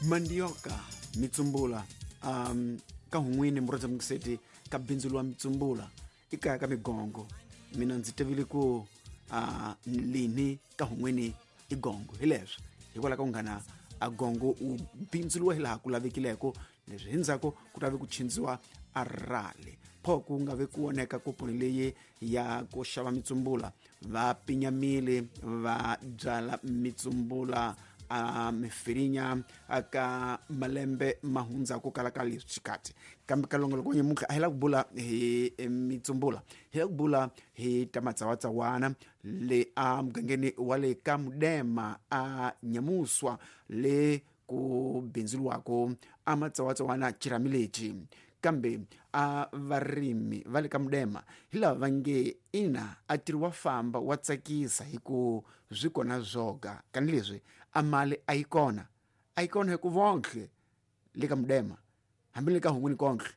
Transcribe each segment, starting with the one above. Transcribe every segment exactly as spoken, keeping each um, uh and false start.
Mandioka mitsumbula um ka hun'wini murhandza mukiseti ka bindzu lwa mitsumbula i kaya ka migongo mina ndzi tivile ku uh, lini ka hun'wini i gongo hi leswi hikwalaho ka ku nghana a gongo u bindzuliwa hi laha ku lavekileko leswi hi ndzhaku ku ta ve ku chindziwa a rale pho ku nga ve ku oneka kuponi leyi ya ku xava mitsumbula va pinyamile va byala mitsumbula a mifirinya aka malembe ma hundza ku kala ka leswi xikati kambe ka longoloko nyamuntlha a hi la ku bula hi mitsumbula hi la ku bula hi ta matsawatsawana le a mugangeni wa le ka Mudema a Nyamuswa le ku bindzuriwako a matsawatsawana xirhami lexi kambe a varimi va le ka Mudema hi lava va nge ina a tirhi wa famba wa tsakisa hi ku swi kona zwoga kani leswi a mali a yi kona a yi kona hi ku vonhle le ka Mudema hambi le ka hun'wini konhle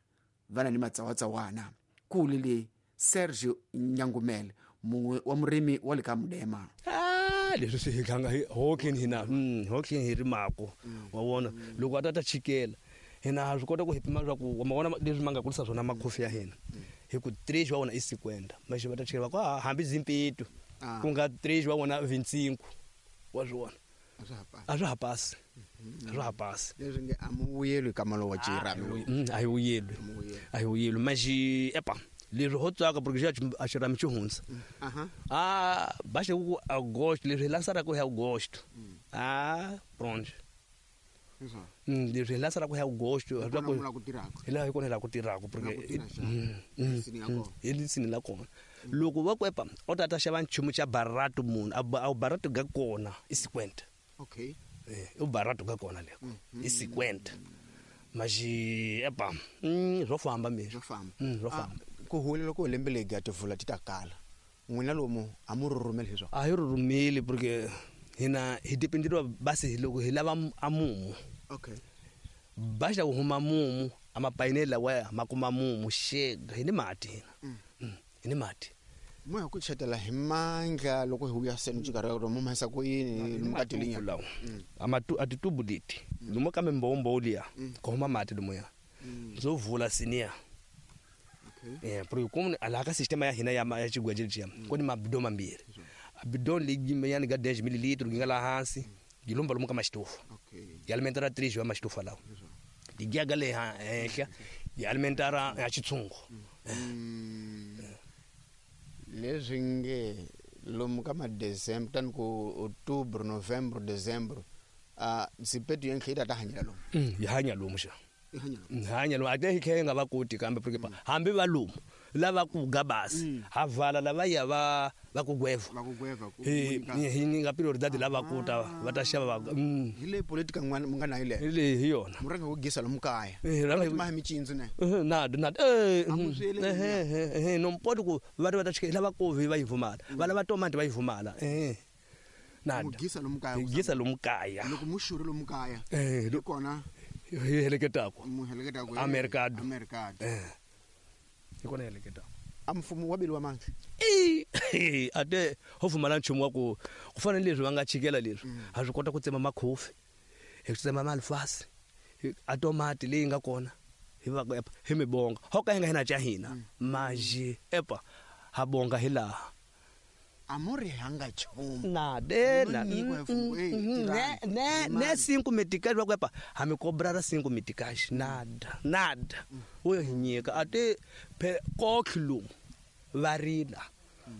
va na ni matsawatsawana kule le Sergio Nyangumele mun'we wa murimi wa le ka Mudema. Ah, leswi swi hi tlanga hi hokeni hina mm, hokeni hi rimako wa vona loko a ta ta chikela hina ha swi kota ku hi pima leswaku wa ma vona leswi ma nga kulisa swona makhofi ya hina hi ku três wa vona i cinquenta mas va ta chikela va ku ah, hambi zimpeto Ah. ku nga três wa vona vincinco wa swi vona a swa ha pasi a swa ha pasi leswi nge a mu vuyelwi ka malo wa xirhami lowu Mm, a hi vuyelwi a hi vuyelwi mas epa leswi ho tsaka porque xa a xirhami xi hundza aha ah baixa ku agosto leswi hi lançaraka hi agosto ah pronto Mm, leswi hi lançaraka hi agosto Hi kona mu la ku tirhaka. hi laha hi kona hi laha ku tirhaka porque Ku tirha xana? Mm, mm, Lisini ya mm, kona. hi lisini la kona loko va ku epa o ta ta xava nchumu xa barato munhu a ba- a barato ga kona i cinquenta okay Eh, i barato ga kona leko i cinquenta mas epa mm, swo famba swo meswi famba Mm, swo Ah, famba ku huwelela ku lembe leri ya tivula ti ta kala n'wina lomu a mu rhurhumeli hi swona a hi rhurhumeli porque hina hi dependeriwa basi hi loko hi lava a mumu okay baixa ku huma mumu a mapayineli lawaya ma kuma mumu xega hi ni mati hina Mm, hi ni mati mu ya ku chetela hi mandla loko hi vuya seni xikarhi ka mu mahisa ku yini lomu ka tilinya lawa a matu a titubu leti lomu ka mimbowombowo liya ku huma mati lomuya ndzo vula siniya okay eh porque como laha ka sistema ya hina ya ma- ya xigweje lexiya ku ni mabidon mambirhi a bidon leyi yani ga dez mililitro yi nga laha hansi yi lomba lomu ka maxitofu okay yi alimentara três wa maxitofu lawa tigiyaga le ha- henhla yi alimentara ya xitshungu leswi nge lomu ka ma-december tani ku october november december uh, zipetu yenhle yi ta ta hanyela lomu Mm, yi hanya lomu xa yi hanyela Mm, hanya lomu a te hi tlhe hi nga va koti kambe porque pa hambi va lomu lava ku ga basi ha vala lava ya va va ku gweva va ku gweva ku hi hi nyika prioridade lava ku ta va ta xava va mm, hi leyi politika n'wana mu nga na yi hi leyo leyi hi yona mu rhanga ku gisa lomu kaya Eh, rhanga hi- ma hi micindzu ne Eh, nado nado eh, A mu mm, swi yeleli eh, eh, eh, no mpoti ku va ta va ta chikela lava kovi va yi vumala va lava tomati va yi vumala eh mu nado gisa lomu kaya hi gisa lomu kaya loko mu xurhe lomu kaya Eh, hi lo- kona hi heleketaka mu heleketaka A mercado. a mercado eh hi kona hi heleketaka a mfumo wa beliwa mandla I a te ho pfumala nchumu wa ku ku fana ni leswi va nga chikela leswi ha swi kota ku tsema makhofi hi tsema malifasi hi- a tomati leyi nga kona hi va ku epa hi mi bonga ho ka hi nga hina ca hina maji epa ha bonga hi laha a mu ri hanga nchumu na de na Mu nyikiwa hi mfumo, eh, ne tirhani. ne ne cinco meticais va ku epa ha mi cobrara cinco meticais nada nada wo hi nyika a te phe kotlhi lomu va rila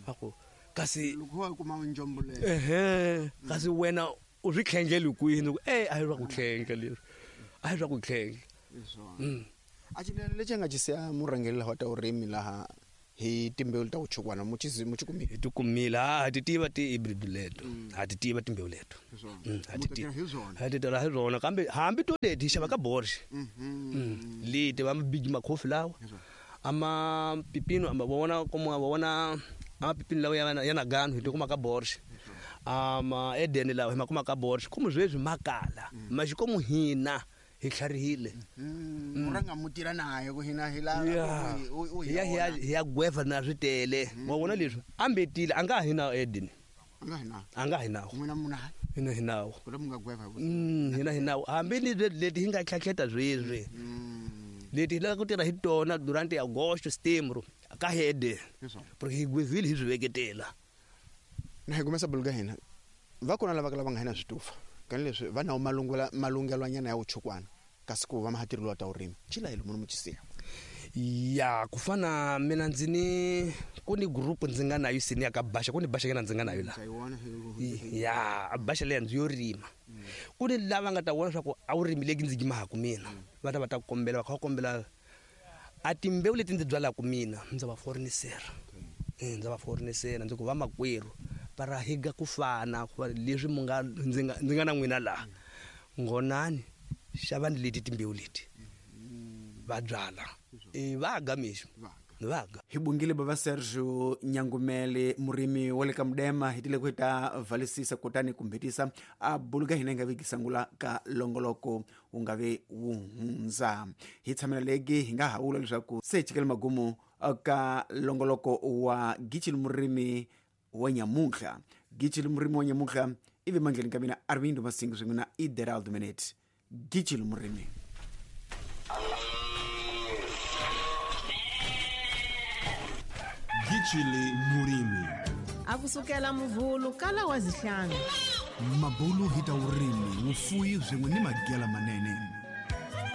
va ku kasi loko wa kuma njombo leyo ehe kasi wena u swi tlhendleli kwini ku e a hi swa ku tlhendla leswi a hi swa ku tlhendla hi swona Mm. a xilelo lexi nga xi siya murhangeri laha wa ta vurimi laha hi timbewu ta ku chukwana mu xi mu xi kumile hi ti kumile ha ha ti tiva ti-hybrid leto ha ti tiva timbewu leto Hi swona. Mm, ha Mu ti ta tiva. tirha hi swona. Ha ti tirha hi swona kambe hambi to leti hi xava ka borxe Mhm. leti va mabigi makhofi lawa ama pipino ama vona como va vona ama pipino lawa ya na- ya na gano hi ti kuma ka borxe ama edeni lawa hi ma kuma ka borxe como sweswi ma kala maxi como hina hi tlharihile Mm, mu rhanga mu tirha naye ku hina hi la Ya. u- u- u hi ya hi ya hi ya gweva na swi tele wa vona leswi ambetile a nga ha hi na edeni a nga hi na a nga hi nawo n'wina muna Hina hi nawu. Ku nga gweva mm hina hi nawu hambi ni leti hi nga tlhatlheta sweswi. Leti hi lava ku tirha hi tona durante agosto setembro ka hede. Porque hi gwevile hi swi veketela. Na hi kumesa buluga hina va kona lava lava nga hina switufa kani leswi va nawu malungula malungelwanyana ya vuchukwana kasi ku va mahatirilo ta urimi chila hi lomu muchisiya ya ku fana mina ndzi ni ku ni group ndzi nga nayo sini ya ka Basha ku ni Basha ngena ndzi nga nayo la ya Basha leya ndzi yo rima ku ni lava nga ta vona swa ku a wu rimi leki ndzi gimaku mina va ta va ta kombela va kha kombela a timbewu leti ndzi byalaka mina ndza va forenisera eh ndza va forenisera ndzi ku va makwerhu para higa ku fana leswi mu nga ndzi nga ndzi nga na n'wina laha ngonani xavani leti timbewu leti va byala e va ga mixo va ga hi bungile baba Sergio Nyangumele murimi wa le ka Mudema hi tile ku ta valisisa kutani kumbhetisa a buluka hina nga vikisangula ka longoloko wu nga ve wu hundza hi tshamela legi hi nga hawula leswaku se chikele magumu ka longoloko wa Gichili murimi wa nyamuhla Gichili murimi wa nyamuhla ivi mandleni ka mina Arvindo Masingo swin'we na Ideraldo Minute Gichili murimi. Gichili murimi akusukela muvhulu kala wa zihlanu mabulu hita urimi wufuyi swin'we ni magela manene.